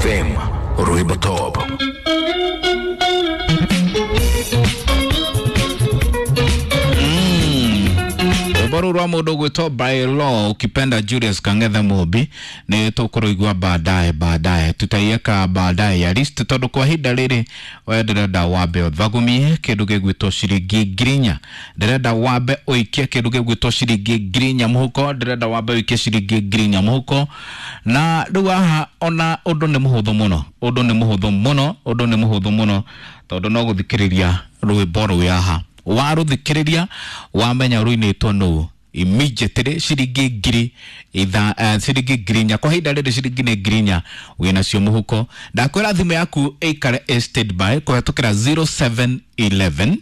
FM, rwĩmbo top. Rwĩmbo rũu rwa mũndũ ũgwĩtwo by law, ukipenda Julius Kang'ethe Mũmbi, nĩ tũkũrũigua baadaye baadaye, tutaiweka baadaye ya list, tondũ kwa ihinda rĩrĩ we ndĩrenda wambe ũthagumie kĩndũ gĩgwĩtwo ciringi 4,000. Ndĩrenda wambe ũikie kĩndũ gĩgwĩtwo ciringi 4,000 mũhuko. Ndĩrenda wambe ũikie ciringi 4,000 mũhuko. Na rĩu haha ona ũndũ nĩ mũhũthũ mũno, ũndũ nĩ mũhũthũ mũno, ũndũ nĩ mũhũthũ mũno, tondũ no gũthikĩrĩria rwĩmbo rũu haha, warũthikĩrĩria wamenya rũinĩtwo nũ, immediately ciringi ngiri itha, ciringi 4,000. Kwa ihinda rĩrĩ ciringi nĩ 4,000 wĩnacio mũhuko. Ndakwĩra thimũ yaku ĩikare ĩ standby kũhetũkĩra 0711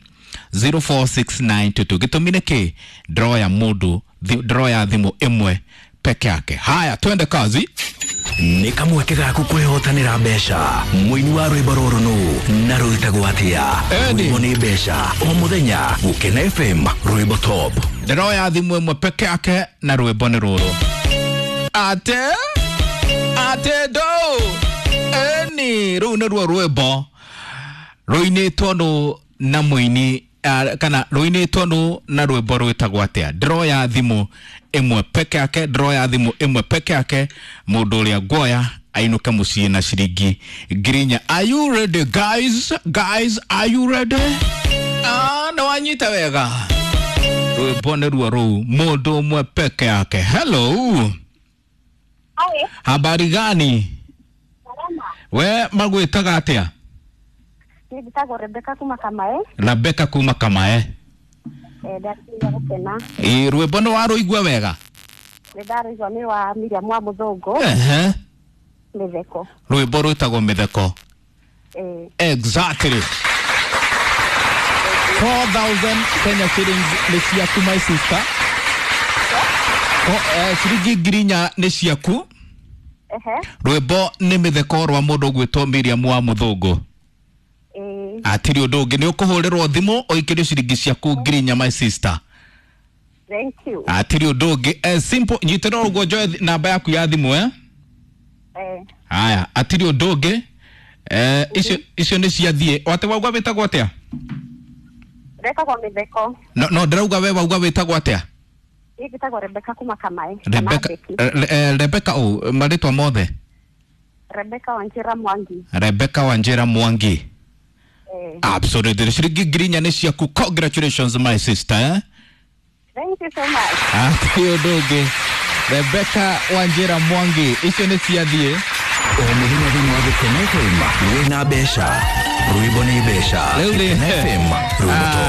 046922. Gĩtũmi nĩ kĩ? Ndroya mũndũ, ndroya thimũ ĩmwe peke yake. Haya, twende kazi. Nĩ kamweke gaku kwĩhotanĩra mbeca. Mũini wa rwĩmbo rũrũ nũ na rwĩtagwo atĩa? Eddie. Rwĩmbo nĩ mbeca o mũthenya Gũkena FM, rwĩmbo top. Ndĩroya thimũ ĩmwe peke yake na rwĩmbo nĩ rũrũ. Ate ate ndo eni, rũu nĩruo rwĩmbo rũinĩtwo nũ na mũini, kana rũinĩtwo nũ na rwĩmbo rwĩtagwo atĩa? Ndĩroya thimũ ĩmwe peke yake, ndĩroya thimũ ĩmwe peke yake. Mũndũ ũrĩa nguoya ainũke mũciĩ na ciringi 4,000. Are you ready, guys? Guys, are you ready? Ah, nĩ wanyita wega. Rwĩmbo nĩ ruo rũu, mũndũ ũmwe peke yake. Hello. Hai, habari gani? Salama. We magwĩtaga atĩa? Niĩ njĩtagwo Rebecca kuma Kamae. Rebecca kuma Kamae. Ndakinya gũkena. Ĩ, rwĩmbo nĩ warũigua wega? Nĩ ndarũigua, nĩ wa Miriam wa Mũthũngũ, Ehe. Mĩtheko. Rwĩmbo rwĩtagwo Mĩtheko. Exactly. 4000 Kenya shillings nĩ ciaku, my sister. Ciringi 4,000 nĩ ciaku. Rwĩmbo nĩ Mĩtheko rwa mũndũ ũgwĩtwo Miriam wa Mũthũngũ. Atirĩ ũndũ ũngĩ, nĩ ũkũhũrĩrwo thimũ ũikĩrio ciringi ciaku 4,000, my sister. Thank you. Atirĩ ũndũ ũngĩ, simple. Nyitĩrĩra ũguo njoe namba yaku ya thimũ, eh? Haya, atirĩ ũndũ ũngĩ. Icio nĩ ciathiĩ. Wate wauga wĩtagwo atĩa? Retagwo Mĩtheko. No, no, ndĩrauga we wauga wĩtagwo atĩa? Niĩ njĩtagwo Rebecca kuma Kamae. Kana Rebecca. Becky. Rebecca ũ marĩtwa mothe? Rebecca Wanjira Mwangi. Rebecca Wanjira Mwangi. Absolutely, ciringi 4,000 nĩ ciaku. Congratulations, my sister, eh? Thank you so much. Atirĩ ũndũ ũngĩ, Rebecca Wanjira Mwangi, icio nĩ ciathiĩ. O mũthenya thĩinĩ wa Gũkena FM wĩna mbeca. Rwĩmbo nĩ mbeca. Rĩu rĩ, Gũkena FM, rwĩmbo top.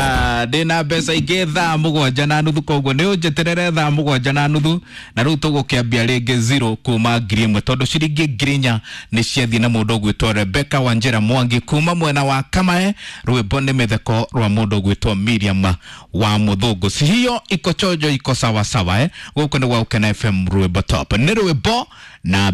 Ndĩna mbeca ingĩ 7:30, koguo nĩ ũnjeterere 7:30, na rĩu tũgũkĩambia rĩngĩ zero kuma 1,000, tondũ ciringi 4,000 nĩ ciathiĩ na mũndũ ũgwĩtwo Rebecca Wanjira Mwangi kuma mwena wa Kamae. Rwĩmbo nĩ Mĩtheko rwa mũndũ ũgwĩtwo Miriam wa Mũthũngũ. Si hiyo iko chojo, iko sawasawa, eh? Gũkũ nĩ gwa Gũkena FM, rwĩmbo top nĩ rwĩmbo na